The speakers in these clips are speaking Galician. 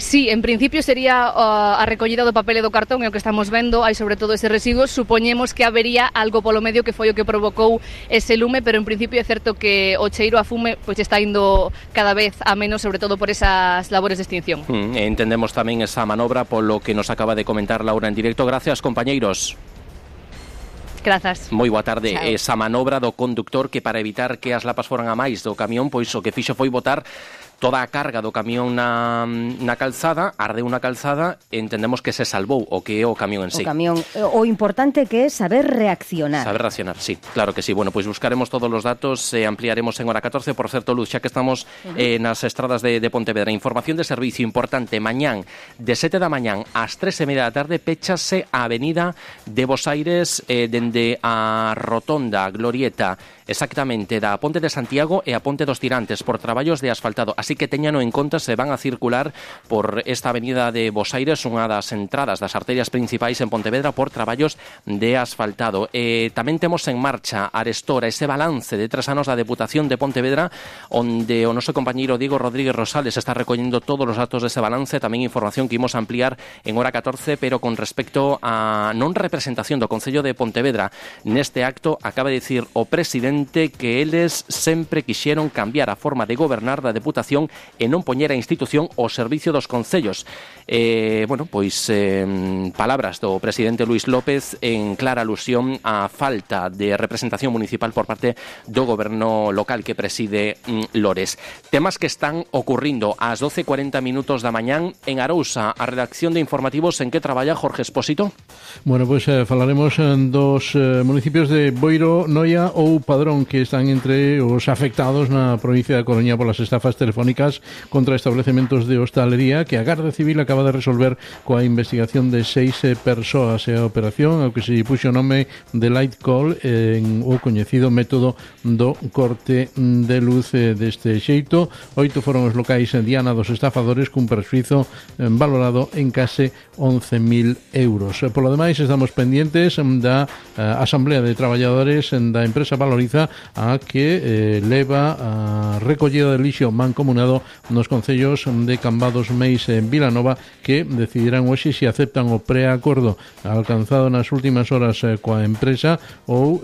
Sí, en principio sería a recollida do papel e do cartón, é o que estamos vendo, hai sobre todo ese residuo, supoñemos que habería algo polo medio que foi o que provocou ese lume, pero en principio é certo que o cheiro a fume pois está indo cada vez a menos, sobre todo por esas labores de extinción. Entendemos tamén esa manobra polo que nos acaba de comentar Laura en directo. Gracias, compañeiros. Grazas. Moi boa tarde. Chao. Esa manobra do conductor que para evitar que as lapas foran a máis do camión, pois o que fixo foi botar toda a carga do camión na calzada, ardeu na calzada, entendemos que se salvou o que é o camión en sí. O camión, o importante que é saber reaccionar. Saber reaccionar, sí, claro que sí. Bueno, pois buscaremos todos os datos e ampliaremos en hora 14. Por certo, Luz, xa que estamos nas estradas de Pontevedra, información de servicio importante. Mañán, de 7 da mañán ás 3:30 da tarde, péchase a avenida de Bos Aires dende a rotonda, glorieta, exactamente da Ponte de Santiago e a Ponte dos Tirantes por traballos de asfaltado. Así que teñano en conta, se van a circular por esta avenida de Bos Aires, unha das entradas das arterias principais en Pontevedra, por traballos de asfaltado. Tamén temos en marcha Arestora, ese balance de 3 anos da Deputación de Pontevedra, onde o noso compañeiro Diego Rodríguez Rosales está recollendo todos os datos dese balance, tamén información que imos ampliar en hora 14, pero con respecto a non representación do Concello de Pontevedra. Neste acto acaba de dicir o presidente que eles sempre quixeron cambiar a forma de gobernar da Deputación e non poñer a institución ao servicio dos concellos. Palabras do presidente Luís López en clara alusión á falta de representación municipal por parte do goberno local que preside Lores. Temas que están ocurrindo ás 12:40 da mañán en Arousa. A redacción de informativos en que traballa Jorge Expósito? Bueno, pois falaremos dos municipios de Boiro, Noia ou Padrón, que están entre os afectados na provincia da Coruña polas estafas telefónicas contra establecementos de hostalería que a Garda Civil acaba de resolver coa investigación de 6 persoas. E a operación, ao que se puxo o nome de Light Call, en o coñecido método do corte de luz. Deste xeito, 8 foron os locais diana dos estafadores cun persuizo valorado en case 11.000 euros. Polo demais, estamos pendientes da Asamblea de Traballadores da empresa Valoriza, a que leva a recollida de lixo mancomunado nos concellos de Cambados, Meis e Vilanova, que decidirán hoxe se aceptan o preacordo alcanzado nas últimas horas coa empresa ou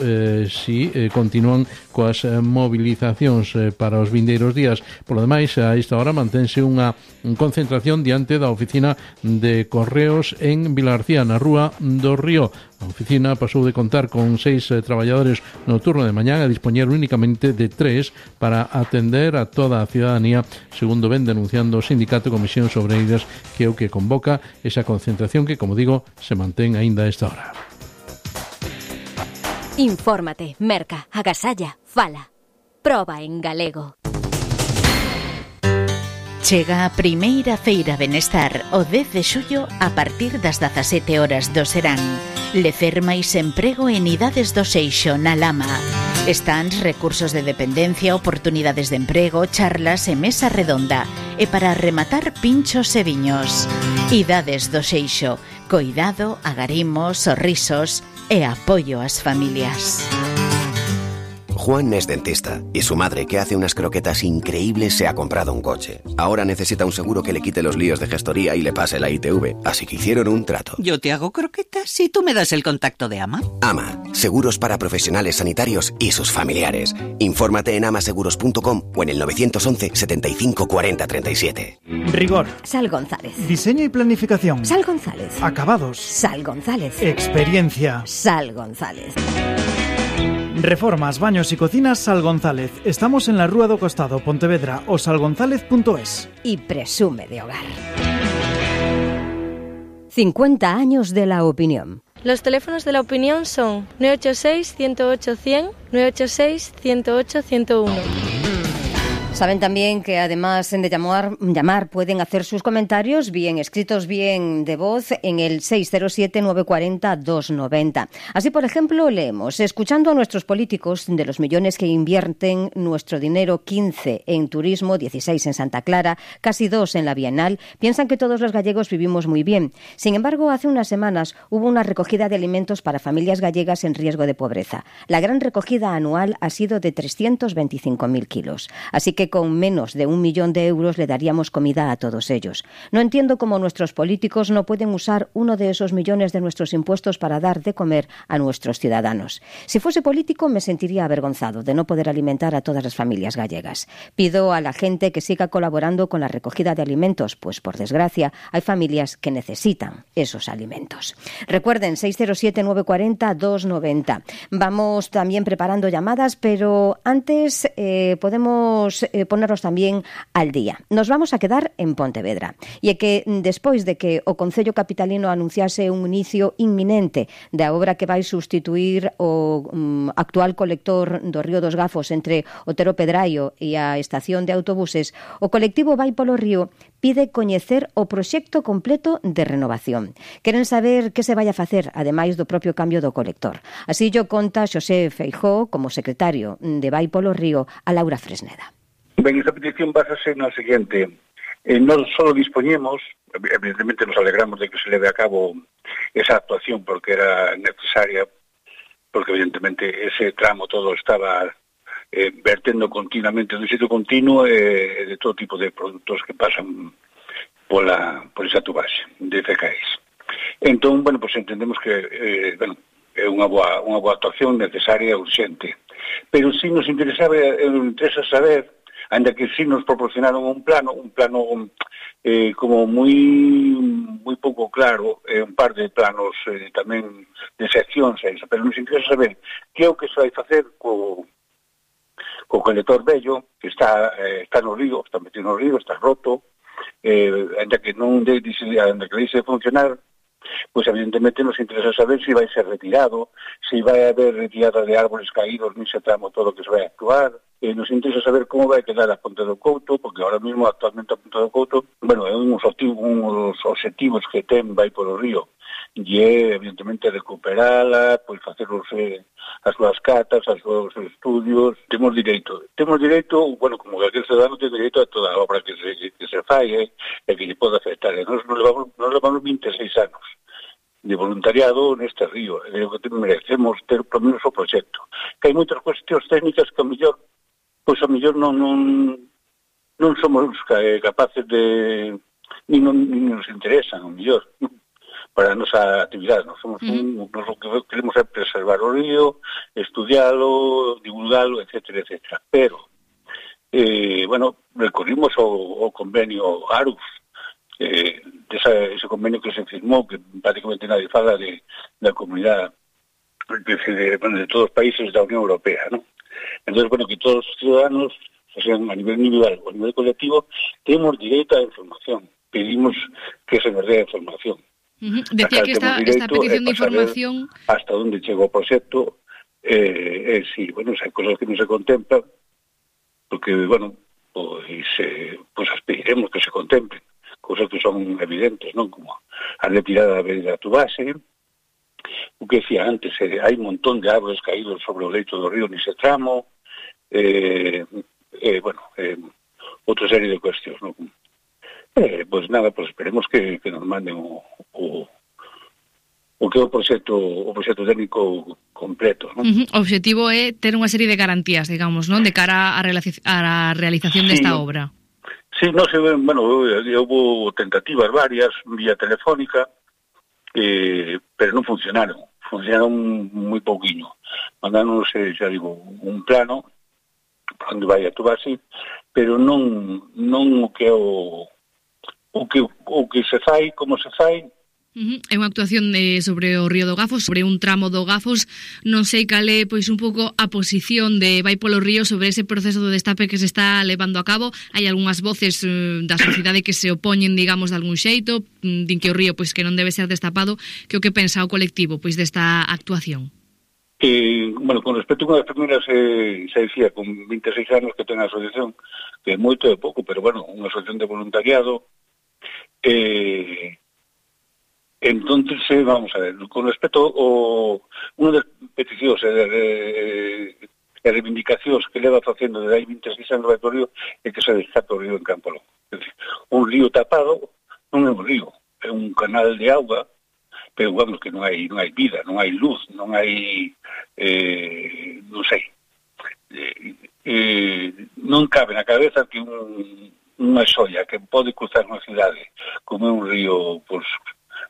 se continúan coas movilizacións para os vindeiros días. Por lo demais, a esta hora mantense unha concentración diante da oficina de Correos en Vilarcía, na Rúa do Río. A oficina pasou de contar con 6 traballadores no turno de mañán a dispoñer únicamente de 3 para atender a toda a ciudadanía, segundo ven denunciando o sindicato Comisións Obreiras, que é o que convoca esa concentración que, como digo, se mantén aínda a esta hora. Infórmate, merca, agasalla, fala. Proba en galego. Chega a primeira feira Benestar o 10 de xullo a partir das 17 horas do serán. Lecer máis emprego en idades do Seixo na Lama. Stands, recursos de dependencia, oportunidades de emprego, charlas e mesa redonda. E para rematar, pinchos e viños. Idades do Seixo. Coidado, agarimos, sorrisos e apoio ás familias. Juan es dentista y su madre, que hace unas croquetas increíbles, se ha comprado un coche. Ahora necesita un seguro que le quite los líos de gestoría y le pase la ITV, así que hicieron un trato. Yo te hago croquetas y tú me das el contacto de AMA. AMA, seguros para profesionales sanitarios y sus familiares. Infórmate en amaseguros.com o en el 911 75 40 37. Rigor. Sal González. Diseño y planificación. Sal González. Acabados. Sal González. Experiencia. Sal González. Reformas, baños y cocinas Sal González. Estamos en la Rúa do Costado, Pontevedra, o salgonzalez.es. Y presume de hogar. 50 años de la opinión. Los teléfonos de la opinión son 986-108-100, 986-108-101. Saben también que además de llamar pueden hacer sus comentarios bien escritos, bien de voz en el 607-940-290. Así, por ejemplo, leemos: escuchando a nuestros políticos de los millones que invierten nuestro dinero, 15 en turismo, 16 en Santa Clara, casi 2 en la Bienal, piensan que todos los gallegos vivimos muy bien. Sin embargo, hace unas semanas hubo una recogida de alimentos para familias gallegas en riesgo de pobreza. La gran recogida anual ha sido de 325.000 kilos. Así que que con menos de 1 millón de euros le daríamos comida a todos ellos. No entiendo cómo nuestros políticos no pueden usar uno de esos millones de nuestros impuestos para dar de comer a nuestros ciudadanos. Si fuese político me sentiría avergonzado de no poder alimentar a todas las familias gallegas. Pido a la gente que siga colaborando con la recogida de alimentos, pues por desgracia hay familias que necesitan esos alimentos. Recuerden, 607-940-290. Vamos también preparando llamadas, pero antes podemos ponernos también al día. Nos vamos a quedar en Pontevedra. E é que despois de que o Concello Capitalino anunciase un inicio inminente da obra que vai sustituir o actual colector do Río dos Gafos entre Otero Pedraio e a estación de autobuses, o colectivo Vai polo Río pide coñecer o proxecto completo de renovación. Queren saber que se vai a facer, ademais do propio cambio do colector. Así llo conta Xosé Feijóo, como secretario de Vai polo Río, a Laura Fresneda. Ben, esta petición basase na seguinte. Non só dispoñemos, evidentemente nos alegramos de que se leve a cabo esa actuación porque era necesaria, porque evidentemente ese tramo todo estaba vertendo continuamente do xeito continuo de todo tipo de produtos que pasan por esa tubase de FKS. Entón, bueno, pues entendemos que é unha boa actuación necesaria e urgente. Pero si nos interesa saber, ainda que si nos proporcionaron un plano como moi pouco claro, un par de planos tamén de seccións, pero nos interesa saber que é o que se vai facer co colector vello, que está no río, está metido no río, está roto, ainda que deixe de funcionar, pois evidentemente nos interesa saber se vai ser retirado, se vai haber retirada de árboles caídos nese tramo todo que se vai actuar. Nos interesa saber como vai quedar a Ponte do Couto, porque ahora mesmo actualmente a Ponte do Couto, bueno, é uns objetivos que ten Vai polo Río, e é evidentemente recuperala, pois facer as súas catas, os seus estudios. Temos direito, bueno, como cualquier ciudadano ten direito a toda a obra que se fai, e que lle pode afectar. Nos levamos 26 anos de voluntariado neste río, e o que merecemos ter polo menos o proxecto. Que hai moitas cuestións técnicas que a mellor non somos capaces de ni nos interesan, a mellor, para a nosa actividade. Nos o que queremos é preservar o río, estudialo, divulgalo, etcétera, etcétera. Pero, bueno, recorrimos o convenio ARUF, ese convenio que se firmou, que prácticamente nadie fala da comunidade de todos os países da Unión Europea, ¿no? Entonces, bueno, que todos os ciudadanos, sean a nivel individual ou a nivel colectivo, temos direito á información. Pedimos que se nos dé a información. Decía que esta petición de información... Hasta onde chega o proxecto, si, bueno, hai cosas que non se contemplan, porque, bueno, pues pediremos que se contemplen, cosas que son evidentes, non? Como a retirada da tubase, o que decía antes, hai un montón de árboles caídos sobre o leito do río nese tramo, outra serie de cuestións, non? Pois nada, esperemos que nos manden o que é o proxecto técnico completo, non? O obxectivo é ter unha serie de garantías, digamos, non? De cara á realización desta obra. Sí, non sei, bueno, houve tentativas varias vía telefónica, pero non funcionaron moi pouquiño. Mandáronos, xa digo, un plano para onde vai a tubase, pero non o que se fai, como se fai. É unha actuación sobre o Río do Gafos, sobre un tramo do Gafos. Non sei cal é, pois, un pouco a posición de Vai polo Río sobre ese proceso de destape que se está levando a cabo. Hai algunhas voces da sociedade que se opoñen, digamos, de algún xeito, din que o río, pois, que non debe ser destapado. Que o que pensa o colectivo, pois, desta actuación? Bueno, con respecto a unha das primeiras, se dicía, con 26 anos que ten a asociación, que é moito e pouco, pero, bueno, unha asociación de voluntariado, entonces, vamos a ver, con respecto unha das peticións e reivindicacións que leva facendo desde hai 26 anos Vai polo Río é que se destape o río en Campo Longo. É dicir, un río tapado non é un río, é un canal de auga, pero vamos, que non hai vida, non hai luz, non hai, non sei. non cabe na cabeza que unha xoia que pode cruzar unha cidade como é un río, pois,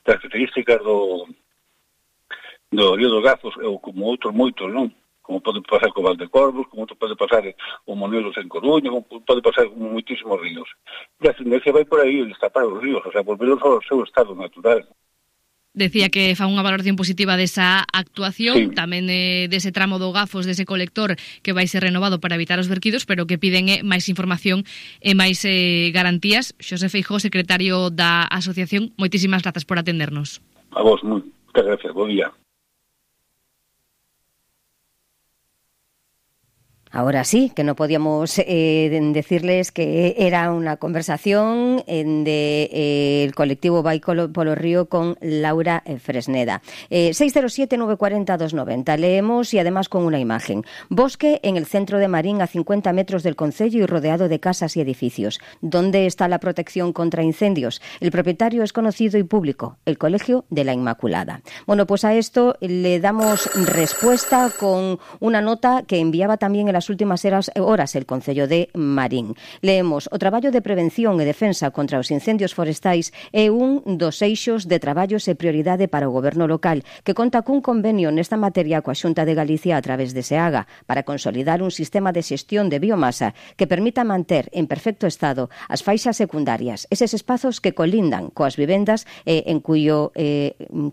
características do Río dos Gazos, ou como outros moitos, non? Como pode pasar co Valdecorvos, como pode pasar o Monelos en Coruña, como pode pasar con moitísimos ríos. E a tendencia vai por aí, destapar os ríos, o sea, volverlos ao seu estado natural. Decía que fa unha valoración positiva desa actuación, Sí. tamén dese tramo do Gafos, dese colector que vai ser renovado para evitar os verquidos, pero que piden máis información e máis garantías. Xosé Feijóo, secretario da asociación, moitísimas grazas por atendernos. A vos, moitas gracias, bo día. Ahora sí, que no podíamos decirles que era una conversación del colectivo Vai polo Río con Laura Fresneda. 607-940-290. Leemos y además con una imagen. Bosque en el centro de Marín, a 50 metros del concello y rodeado de casas y edificios. ¿Dónde está la protección contra incendios? El propietario es conocido y público, el Colegio de la Inmaculada. Bueno, pues a esto le damos respuesta con una nota que enviaba también en las últimas horas el Concello de Marín. Leemos: o traballo de prevención e defensa contra os incendios forestais é un dos eixos de traballos e prioridade para o goberno local, que conta cun convenio nesta materia coa Xunta de Galicia a través de SEAGA para consolidar un sistema de xestión de biomasa que permita manter en perfecto estado as faixas secundarias, eses espazos que colindan coas vivendas en cuyo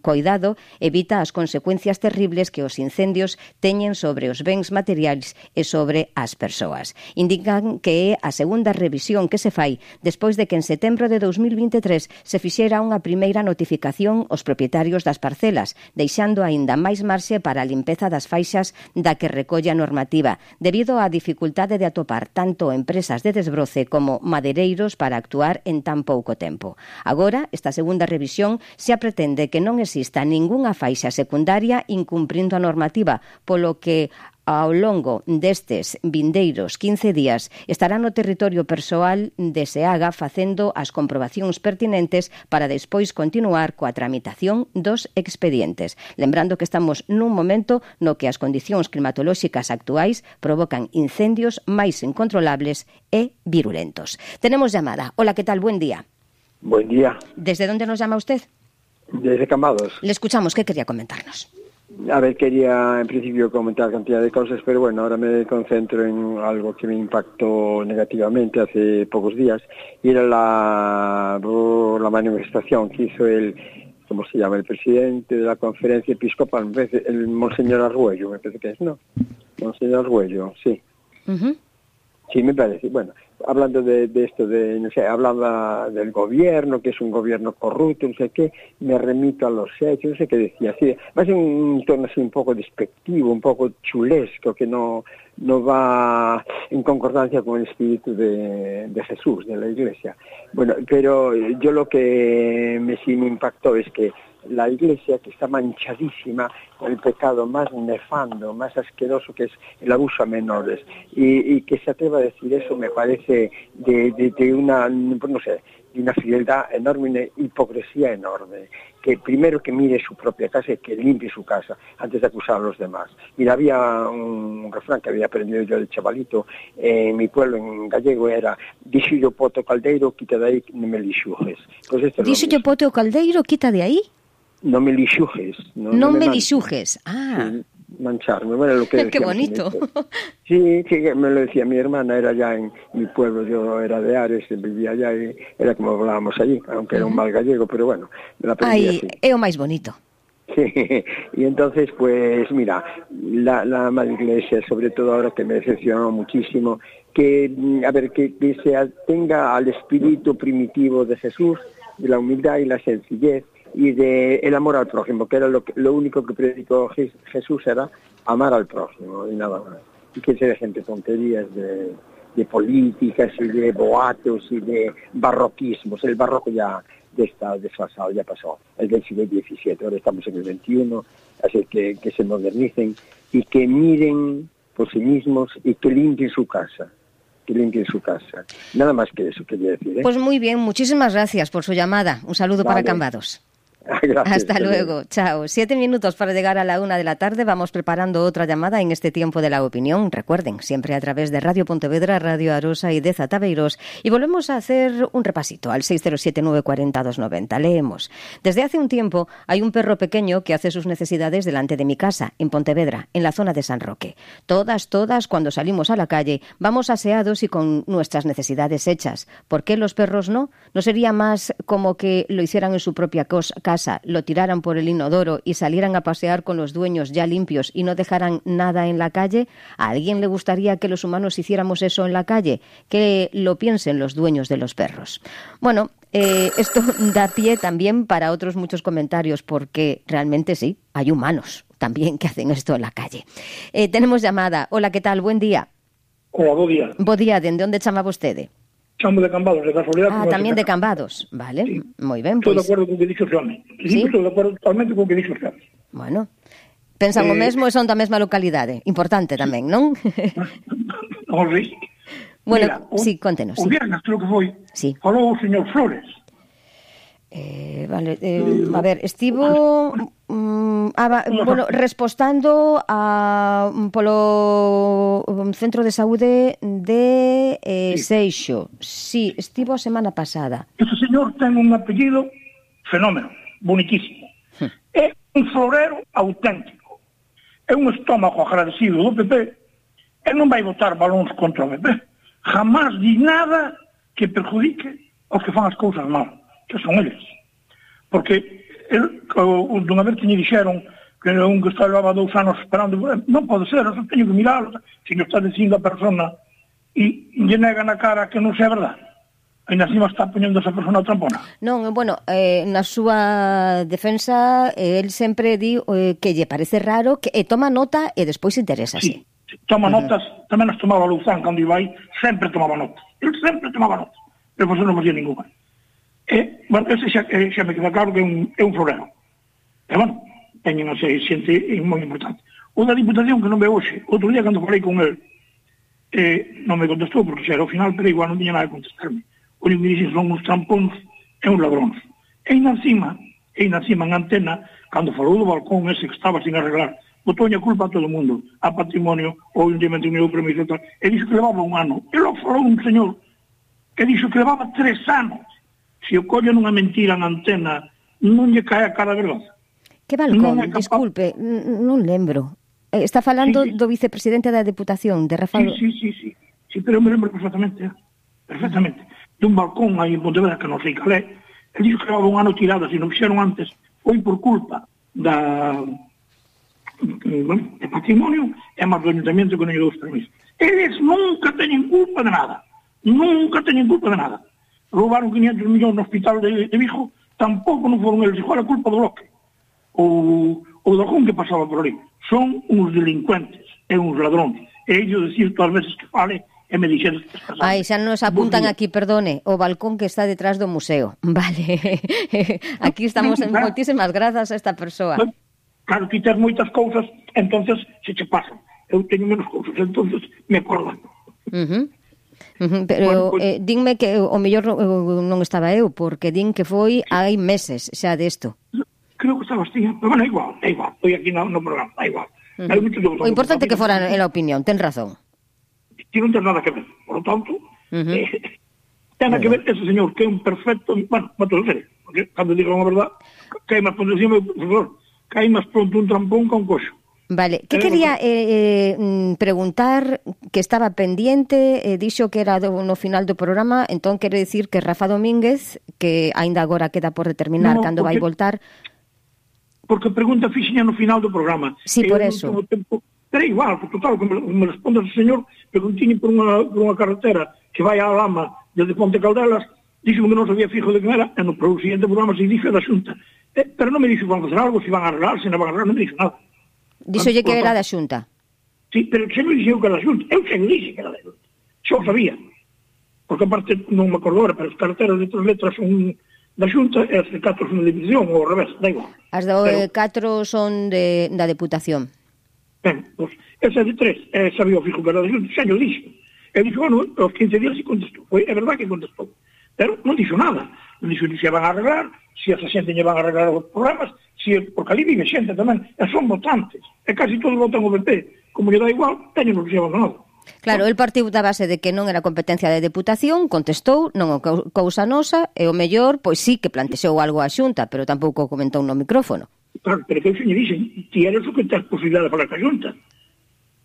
coidado evita as consecuencias terribles que os incendios teñen sobre os bens materiais e sobre as persoas. Indican que é a segunda revisión que se fai despois de que en setembro de 2023 se fixera unha primeira notificación aos propietarios das parcelas, deixando aínda máis marxe para a limpeza das faixas da que recolle a normativa, debido á dificultade de atopar tanto empresas de desbroce como madeireiros para actuar en tan pouco tempo. Agora, esta segunda revisión xa pretende que non exista ningunha faixa secundaria incumprindo a normativa, polo que ao longo destes vindeiros 15 días estará no territorio persoal de SEAGA facendo as comprobacións pertinentes para despois continuar coa tramitación dos expedientes. Lembrando que estamos nun momento no que as condicións climatolóxicas actuais provocan incendios máis incontrolables e virulentos. Tenemos llamada. Hola, ¿qué tal? Buen día. Buen día. ¿Desde dónde nos llama usted? Desde Cambados. Le escuchamos. ¿Qué quería comentarnos? A ver, quería en principio comentar cantidad de cosas, pero bueno, ahora me concentro en algo que me impactó negativamente hace pocos días, y era la manifestación que hizo ¿cómo se llama? El presidente de la conferencia episcopal, me parece, el Monseñor Argüello, me parece que es, ¿no? Monseñor Argüello, sí. Uh-huh. Sí, me parece. Bueno, hablando de esto, no sé, hablaba del gobierno, que es un gobierno corrupto, no sé qué, me remito a los hechos, no sé qué decía, así, va a ser un tono así un poco despectivo, un poco chulesco, que no va en concordancia con el espíritu de Jesús, de la Iglesia. Bueno, pero yo lo que sí me impactó es que la Iglesia, que está manchadísima con el pecado más nefando, más asqueroso, que es el abuso a menores, y que se atreva a decir eso me parece de una, no sé, de una frialdad enorme, una hipocresía enorme. Que primero que mire su propia casa y que limpie su casa antes de acusar a los demás. Mira, había un refrán que había aprendido yo de chavalito en mi pueblo, en gallego, era: dixo yo poto caldeiro, quita de aí, non me lixujes. Pues dixo yo poto caldeiro, quita de aí? No me lixujes. No me lixujes. Ah. Sí, mancharme. Bueno, lo que qué bonito. Sí, que me lo decía mi hermana, era ya en mi pueblo, yo era de Ares, vivía allá y era como hablábamos allí, aunque era un mal gallego, pero bueno, me la aprendí así. É o máis bonito. Sí, y entonces, pues mira, la Madre Iglesia, sobre todo ahora que me decepcionó muchísimo, que se atenga al espíritu primitivo de Jesús, de la humildad y la sencillez, y de el amor al prójimo, que era lo único que predicó Jesús, era amar al prójimo y nada más. Y que se dejen de tonterías de políticas y de boatos y de barroquismos. El barroco ya está desfasado, ya pasó, es del siglo XVII, ahora estamos en el XXI, así que se modernicen y que miren por sí mismos y que limpien su casa. Nada más que eso quería decir, ¿eh? Pues muy bien, muchísimas gracias por su llamada. Un saludo para Cambados. Gracias, Hasta luego, chao. 7 minutos para llegar a la 1 de la tarde. Vamos preparando otra llamada en este tiempo de la opinión. Recuerden, siempre a través de Radio Pontevedra, Radio Arosa y de Zataveiros. Y volvemos a hacer un repasito al 607-940-290. Leemos. Desde hace un tiempo hay un perro pequeño que hace sus necesidades delante de mi casa, en Pontevedra, en la zona de San Roque. Todas, cuando salimos a la calle, vamos aseados y con nuestras necesidades hechas. ¿Por qué los perros no? ¿No sería más como que lo hicieran en su propia casa, lo tiraran por el inodoro y salieran a pasear con los dueños ya limpios y no dejaran nada en la calle? ¿A alguien le gustaría que los humanos hiciéramos eso en la calle? Que lo piensen los dueños de los perros. Bueno, esto da pie también para otros muchos comentarios, porque realmente sí, hay humanos también que hacen esto en la calle. Tenemos llamada. Hola, ¿qué tal? Buen día. Hola, bo día. Bo día, ¿de onde chamaba vostede? Chamo de Cambados, de casualidad. Tamén de Cambados, vale, sí. Moi ben. Estou de acordo con o que dixo o xame. Sí, estou de acordo totalmente con o que dixo o xame. Bueno, pensan o mesmo e son da mesma localidade. Importante tamén, non? Non sei. Bueno, sí, contenos. O viernes, creo que foi, falou o señor Flores. Vale, a ver, estivo bueno, respostando polo Centro de Saúde de Seixo. Sí, estivo a semana pasada. Ese señor ten un apellido fenómeno, bonitísimo. É un florero auténtico. É un estómago agradecido do PP e non vai botar balóns contra o PP. Jamás di nada que perjudique aos que fan as cousas mal, que son eles. Porque dunha vez que me dixeron que un que está levaba 2 anos esperando, non pode ser, eu teño que mirarlo, se non está dicindo a persona e lle nega na cara que non sei a verdade. Ainda encima está poñendo esa persona trampona. Non, bueno, na súa defensa, el sempre di que lle parece raro, que toma nota e despois interesa, sí. Toma notas, tamén as tomaba Luzán cando iba aí, sempre tomaba notas. El sempre tomaba notas, pero pues non facía ninguna. Bueno, ese xa me queda claro que é un florero. E, bueno, teñen a xente moi importante. O da Diputación, que non ve hoxe, outro día cando falei con el, non me contestou, porque xa era o final, pero igual non tiña nada de contestarme. O único que dixen son uns trampóns e uns ladróns. E ainda encima, en antena, cando falou do balcón ese que estaba sin arreglar, botou a culpa a todo o mundo, a patrimonio, ou evidentemente un meu permiso, e dixo que levaba 1 ano. E logo falou un señor que dixo que levaba 3 anos. Se o collo nunha mentira na antena, non lle cae a cara de verdade. Que balcón? Disculpe, non lembro. Está falando do vicepresidente da Deputación, de Rafael... Sí, pero me lembro perfectamente. Perfectamente. Dun balcón aí en Pontevedra, que non sei cal é, e dixo que levaba 1 ano tirada, se non fixeron antes, foi por culpa de patrimonio e máis do ayuntamiento que non lle dou os permisos. Eles nunca teñen culpa de nada. Nunca teñen culpa de nada. Roubaron 500 millóns no hospital de Vigo, tampouco non foron eles, igual a culpa do bloque. O do algún que pasaba por ali. Son uns delincuentes e uns ladróns. E ellos decir todas as veces que fale e me dixeron que pasaba. Ai, xa nos apuntan aquí, perdone, o balcón que está detrás do museo. Vale. Aquí estamos en moitísimas grazas a esta persoa. Claro, que tes moitas cousas, entonces se che pasan. Eu teño menos cousas, entonces me acordan. Pero dinme que o mellor non estaba eu, porque din que foi hai meses xa desto. Creo que estaba así, pero bueno, igual. Estoy aquí no programa, da igual. O importante que fora en la opinión, ten razón. Si non ten nada que ver, por lo tanto, ten que ver ese señor que é un perfecto, bueno, no te lo sé, porque cando digo a verdad, cae máis pronto un trampón que un coxo. Vale, que quería preguntar, que estaba pendiente, dixo que era no final do programa, entón quere dicir que Rafa Domínguez, que aínda agora queda por determinar cando vai voltar... Porque pregunta fixiña no final do programa. Sí, por eso. Pero igual, porque total, como me responde o señor, preguntiñe por unha carretera que vai á Lama desde Ponte Caldelas, dixo que non sabía fijo de que era, e no seguinte programa se dixo da Xunta. Pero non me dixo que van a facer algo, se van a arreglar, se non van a arreglar, non me dixo nada. Dixolle que era da Xunta. Sí, pero xe me dixeu que era da Xunta. Eu xe me dixe que era da Xunta. Xa o sabía. Porque aparte non me acordo ahora, pero as carreteras de 3 letras son da Xunta e as de 4 son da Diputación, ou ao revés, da igual. As de 4 son da Deputación. Ben, pois, esa de 3, sabía o fijo que era da Xunta, xa yo dixo. E dixo, bueno, aos 15 días se contestou. É verdad que contestou. Pero non dixo nada. Non dixo ni se van a arreglar, se esa xente lle van a arreglar os problemas, porque ali vive xente tamén, e son votantes. E casi todos votan o PP. Como lle dá igual, teñen o que se abandonado. Claro, el partiu da base de que non era competencia de Deputación, contestou, non o cousa nosa, e o mellor, pois sí que plantexou algo á Xunta, pero tampouco comentou no micrófono. Claro, pero que eu xe lle dixen, ti eres o que tens posibilidade de falar ca Xunta.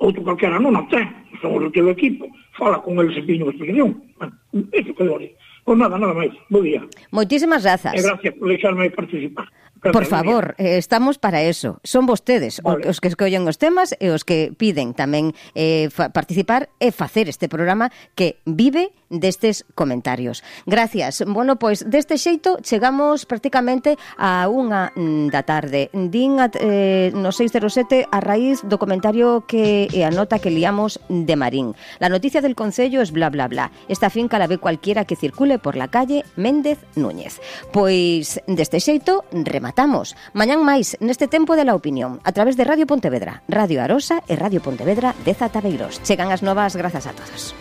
Outro calquera non a ten, somos o teu equipo, fala con eles e piño a explicación. Bueno, iso que dore. Pois nada máis. Bo día. Moitísimas grazas. E gracias por deixarme participar. Por favor, estamos para eso. Son vostedes os que escollen os temas e os que piden tamén participar e facer este programa que vive destes comentarios. Gracias. Bueno, pois deste xeito chegamos prácticamente a 1 da tarde. Din no 607 a raíz do comentario e a nota que liamos de Marín. La noticia del Concello es bla bla bla. Esta finca la ve cualquiera que circule por la calle Méndez Núñez. Pois deste xeito rematamos. Mañán máis neste tempo de la opinión a través de Radio Pontevedra, Radio Arosa e Radio Pontevedra de Zataveiros. Chegan as novas, grazas a todos.